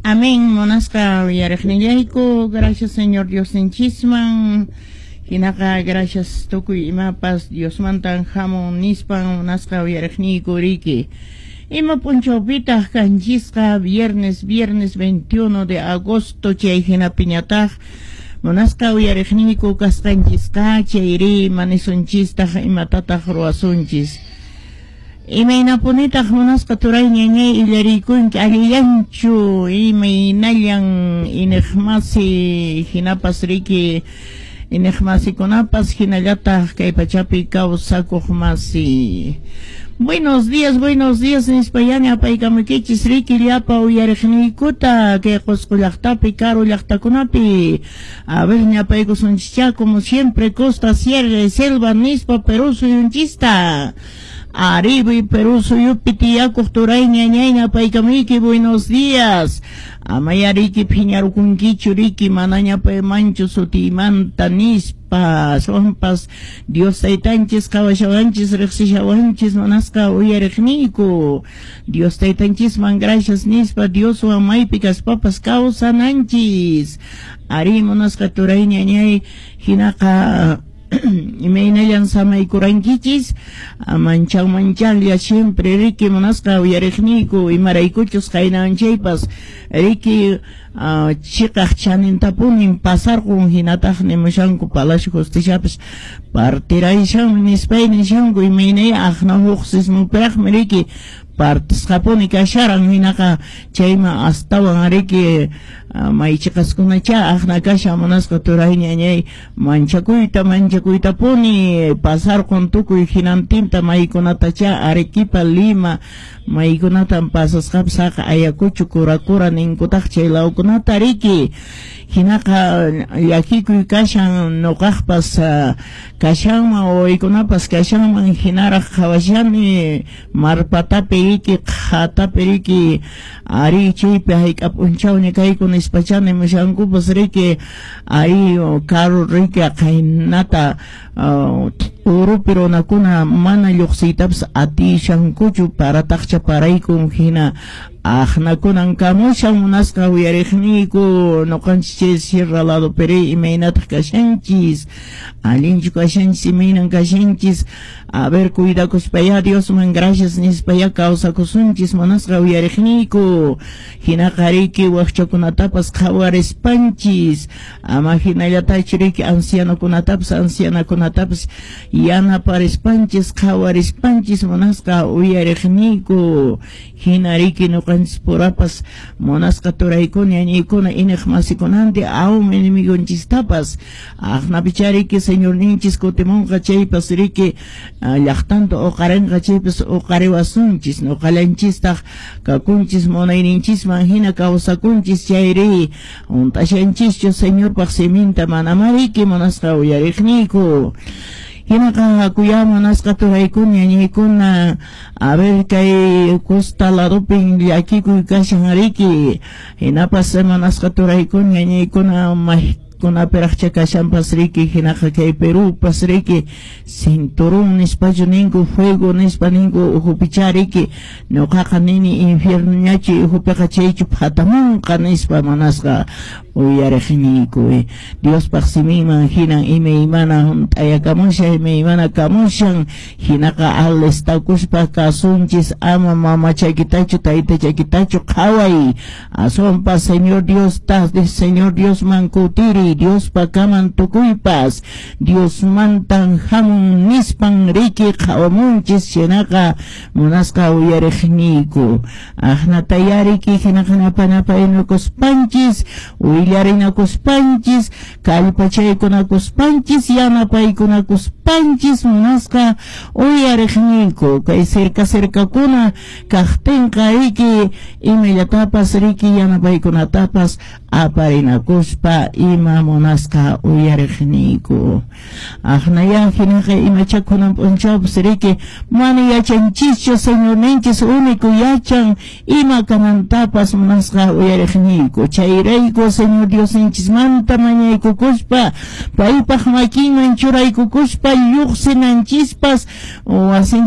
Amén, munasqa uyariqnillayku, gracias Señor Diosninchisman. Hinaqa gracias tukuy imapas Diosmantan hamun nispan munasqa uyariqniyku riki. Ima p'unchawpitaq kanchisqa viernes 21 de agosto chay hinapiñataq munasqa uyariqniyku kasqanchisqa chayri manisunchistaq imatataq ruwasunchis. Imaynapunitaq munasqa turay ñañay illariykunki allillanchu imaynallan iniqmasi hinapas riki iniqmasikunapas hinallataq kay pachapi kawsakuq masi. Buenos días nispayani apaykamukichis riki llapa uyariqniykuta kay Qusqu llaqtapi karu llaqtakunapi. A ver ñapaykusunchischá como siempre costa, sierra y selva nispa Perú suyunchista. Arriba y Perú suyupi tiyakuq turay ñañay ñapaykamuyki buenos días. Amayariki phiñarukunkichu riki manaña paymanchu sutiymanta nispa aswanpas Dios taytanchis qhawashawanchis riqsishawanchis munasqa uyariqniyku. Dios taytanchisman gracias nispa Dioswan maypi kaspapas kawsananchis. Ari munasqa turay ñañay hinaqa imaynallan samaykurankichis manchan manchanlla siempre riki munasqa uyariqniyku imaraykuchus qaynanchaypas riki chiqaq chanintapunin pasarqun hinataq nimushanku Palacio Justiciapas partirayshanmi nispay nishanku imaynay aqna huk sismupiraqmi riki partisqapuni kasharan hinaqa chayman astawan riki maychiqaskunacha aqna kashan munasqa turay ñañay manchakuytapuni pasarqun tukuy hinantinta maykunatacha Arequipa Lima maykunatan pasasqapas haqa Ayacucho Kurakura ninkutaq chay lawkunata riki hinaqa llakikuy kashan nuqaqpas kashanman wawaykunapas kashanman hinaraq qhawashani marpatapi riki qhatapi riki ari chaypi hayk'a p'unchawña kayku nispachani mushankupas riki ari karu riki qaynata urupi runakuna mana lluqsiytapas atishankuchu parataqcha paraykun hina aqnakunan kamushan munasqa uyariqniyku nuqanchis chay sierra lado peri imaynataq kashanchis allinchu kashanchis imaynan kashanchis a ver cuidakuspaya Diosman gracias nispaya kawsakusunchis munasqa uyariqniyku hinaqa riki wakchakunatapas qhawarispanchis ama hinallatachu riki ancianokunatapas ancianakunatapas yanaparispanchis qhawarispanchis munasqa uyariqniyku hina riki nuqanchis purapas munasqa turaykuna ñañaykuna iniqmasikunanti awm enemigonchistapas aqnapicha riki señorninchis kutimunqa chaypas riki llaqtanta uqarinqa chaypas uqariwasunchis nuqallanchistaq kakunchis munayninchisman hina kawsakunchis chayri hunt'ashanchischu señorpaq siminta manama riki munasqa uyariqniyku. Hinaqa hakuya munasqa turaykuna ñañaykuna a ver kay costa ladopin llakikuy kashan riki hinapas munasqa turaykuna ñañaykuna kunapiraqcha kashanpas riki hinaqa kay Perúpas riki cinturón nispachu ninku fuego nispa ninku ukhupicha riki nuqaqa nini infiernoñachu ukhupiqa chaychu phatamunqa nispa munasqa uyariqniyku. Diospaq siminman hinan imaymana hunt'ayakamushan imaymana kamushan hinaqa alistakuspa kasunchis ama mamachaykitachu taytachakitachu qhaway aswanpas Señor Diosta Señor Diosman kutiri Diospa kaman tukuypas Diosmantan hamun nispan riki qhawamunchis hinaqa munasqa uyariqniyku aqnataya riki hinaqa napanapaynakuspanchis willarinakuspanchis kallpachaykunakuspanchis yanapaykunakuspanchis munasqa uyariqniyku kay cerca cercakuna kaqtinqa riki imallatapas riki yanapaykunatapas aparinakuspa ima munasqa uyariqniyku aqnaya hinaqa imachakunan p'unchawpas riki mana yachanchischu señorninchis único yachan ima kanantapas munasqa uyariqniyku chayrayku Señor Diosninchismanta mañaykukuspa paypaq makinman churaykukuspa lluqsinanchispas wasinchis.